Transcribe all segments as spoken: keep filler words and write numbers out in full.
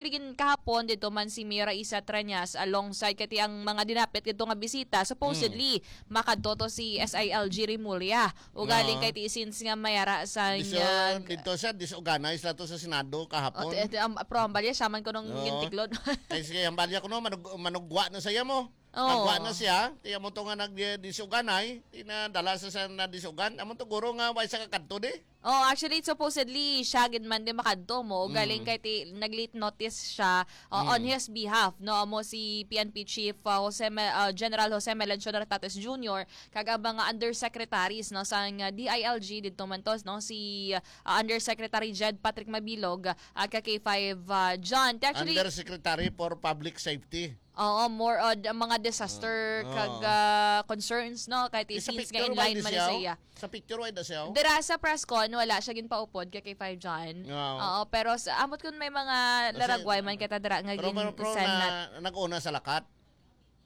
Ligin kahapon dito man si Mayor Raisa Treñas alongside kay ti ang mga dinapit dito nga bisita, supposedly makadto to si S I L G Remulla. Ugaling Oo. Kay ti since nga mayara sa Diso, niya dito siya, disorganized na to sa Senado kahapon. Ti- ti- am- pero ang balya siya man ko nung Oo. Gintiklod. Kay sige, ang balya ko no, manug- manugwa na siya mo. Oo. Pagwa na siya, ti amo to nga nag-, disuganay, ti nadala sa, sa nadisugan, amo to guro nga way sa kakadto di. Oh, actually, supposedly, siya gid man di makadto mo. Galing Mm. Kay ti, nag-late notice siya uh, on Mm. His behalf, no? Amo si P N P Chief uh, Jose Me- uh, General Jose Melencio Nartates Junior kag ang mga undersecretaries, no, sang uh, D I L G dito man to, no, si uh, Undersecretary Jed Patrick Mabilog uh, at ka K five uh, John. Ti actually, Undersecretary for Public Safety. Oo, more on ang mga disaster Oo. Kag ah, concerns, no? Kahit Eh, sa since nga picture, in why line di man siya? Siya. Sa picture, why di siya? Dira sa press con, wala siya ginpaupod kay K five John. Oo. Oo, pero sa, amot kung may mga Kasi, laragway man kita dira nga pero, gin pero, pero send na, na, nag-una sa lakat.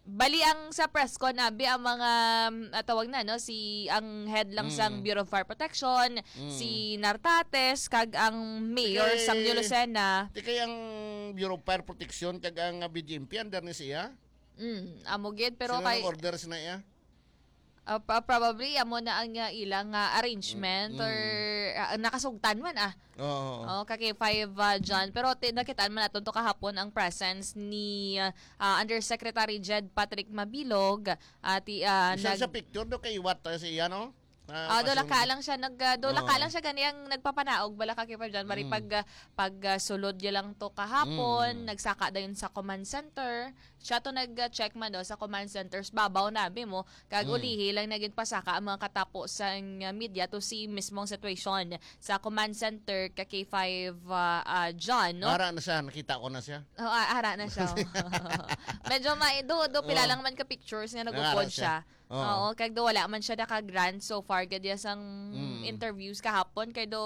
Bali ang sa press con, abi ang mga, mm, ah, tawag na, no? Si, ang head lang sang Mm. Bureau of Fire Protection, Mm. si Nartates, kag ang mayor Kay, sang New Lucena. Di kay ang Bureau of Fire Protection kag ang, ah, B J M P under ni siya? Mm, amo gid, pero Sino kay nag-order sa na iya? Ah, pa- probably amo na ang, ah, ilang, ah, arrangement Mm, or mm. Ah, nakasugtan man, ah. Oo, oo. Oh, kay five, ah, John. Pero ti- nakitaan man naton to kahapon ang presence ni, ah, Undersecretary Jed Patrick Mabilog. Ah, ti, ah, Bisan nag- sa picture do kay what, ah, siya, no? Ah, Ah, dola kasunod. Ka lang siya nag ah, dola ka Oo. Lang siya gani ang nagpapanaog bala ka kay John Marie Mm. Pag ah, pag ah, sulod niya lang to kahapon, Mm. Nagsaka dayon sa command center. Siya to nag-check man do sa command centers babaw nabi mo kag Mm. Ulihi lang naging pasaka ang mga katapo sa ah, media to si mismong situation sa command center ka K five ah, ah, John, no? Ara na siya, nakita ko na siya. Oh, ah, ara na siya. Medyo ma do do pila Oh. Lang man ka pictures nga Ara nagupod siya. Siya. Oo. Oo, kag do wala man siya naka-grant so far gad sang Mm. Interviews kahapon kay do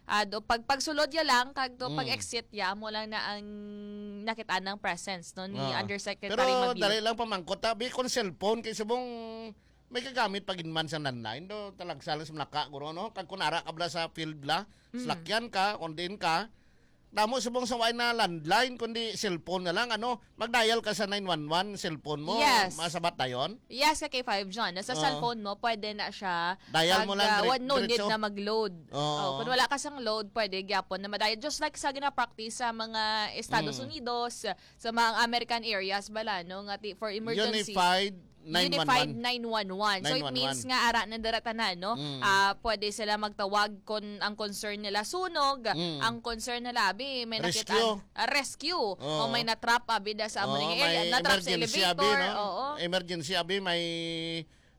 ah, do pag pagsulod ya lang kag do Mm. Pag-exit ya mo lang na ang nakita ng presence no ni Oo. Undersecretary Pero Mabini. Dali lang pamangkot ta, bi kung cellphone kay subong may kagamit pa gid man sa landline do talagsa lang sa manaka guro no kag kun ara ka bala sa field bala Mm. Salakyan ka kung diin ka Damo subong sa way na landline, kundi cellphone na lang, ano? Mag-dial ka sa nine one one, cellphone mo, Yes. Masabat dayon? Yes, ka K five John. Sa Oo. Cellphone mo, pwede na siya. Dial mo Pag, lang ah, dire- wa-, no need diretso. Na mag-load. Oo. Oh, kung wala ka sang load, pwede gyapon na madial. Just like sa gina-practice sa mga Estados Mm. Unidos, sa mga American areas bala, no? Nga ti-, for emergency. Unified nine one one. Unified nine one one. So, it means Nine one one. Nga ara na dira tanan, no? Mm. Ah, pwede sila magtawag kung ang concern nila sunog, Mm. Ang concern nila, abi, may Rescue. Nakitaan, ah, rescue. Oo. O may na-trap, abi, da sa amo Oo, nga area. May na-trap sa emergency, elevator, abi, no? Oo. Emergency, abi, may,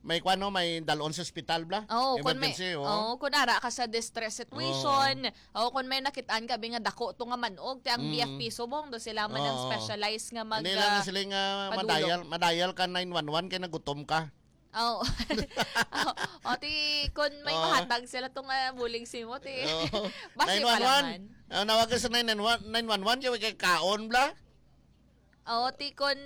may kwan, no? May dalon sa ospital, bla? Oo, kung may, Emergency, oo. Oo, kung ara ka sa distress situation, Oo. O kung may nakitaan ka, bi nga dako to nga manog, ti ang Mm. B F P Subong, do sila man ang Oo. Specialized nga mag, Hindi lang ah, sila nga padulong. Madial, madial ka nine one one kay nagutom ka. Oh. O, ti, kung may Oo. Mahatag sila to nga bulig simo, ti. Oo. Basi pa lang nine one one. Man. Ah, nawag ka sa nine one one, nine one one, kay kay kaon, bla? O, ti kun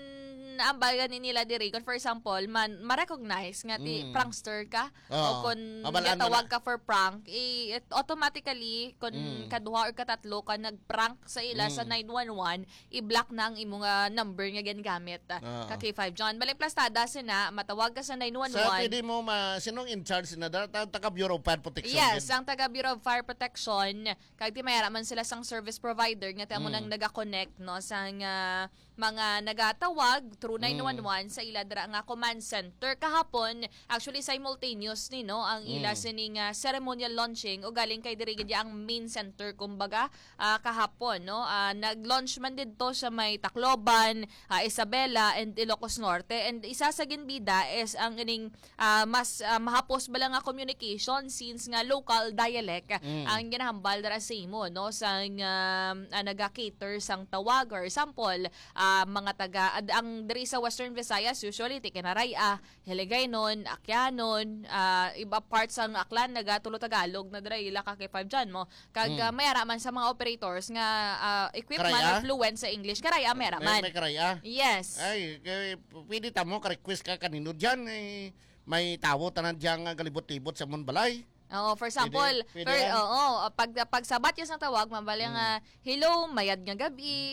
ambal gani nila diri, kun for example, man, ma-recognize nga ti Mm. Prankster ka, Oo. O kun Abal-an mo gatawag na. Ka for prank, i-, it automatically, kun Mm. Kaduha or katatlo ka nag-prank sa ila sa Mm. Nine one one, i-block na ang imo nga number nga ginagamit, ah, Oo. Ka K five John. Bali plastada sina, matawag ka sa nine one one. Sa pwede mo ma-, sinong in charge na da-, ta-, taga Bureau of Fire Protection Yes, din? Ang taga Bureau of Fire Protection, Kag ti may ara man sila sang service provider nga ti amo Mm. Nang naga-connect, no, sang, ah, mga nagatawag through Mm. nine one one sa ila dira nga command center kahapon. Actually, simultaneous ni, no, ang ila Mm. Sining, ah, ceremonial launching o galing kay diri gid ang main center, kumbaga, ah, kahapon, no. Ah, nag-launch man didto sa may Tacloban, ah, Isabela, and Ilocos Norte. And isa sa ginbida is ang ining ah, mas, ah, mahapos bala nga communication since nga local dialect Mm. Ang ginahambal dira sa imo, no, sang, ah, ah, naga-cater sang tawag. For example, ah, mga taga, ad- ang diri sa Western Visayas, usually, ti Kinaray-a, Hiligaynon, Akyanon, ah, iba parts sang Aklan, nagatulo Tagalog na dira, ila ka K five John mo. Kag, Mm. Ah, may ara man sa mga operators nga, ah, equipped man Karay-a? Or fluent sa English, Karay-a, may ara May, man. May Karay-a? Yes. Ay, kay, pwede ta mo, ka-request ka kanino dyan, eh, May tawo tanan diya nga galibot-libot sa amon balay. Oo, for example, Pwede? Pwede per, yan? Oo, pag pag sa Batya sang tawag, mabali Hmm. nga, "Hello, mayad nga gabi."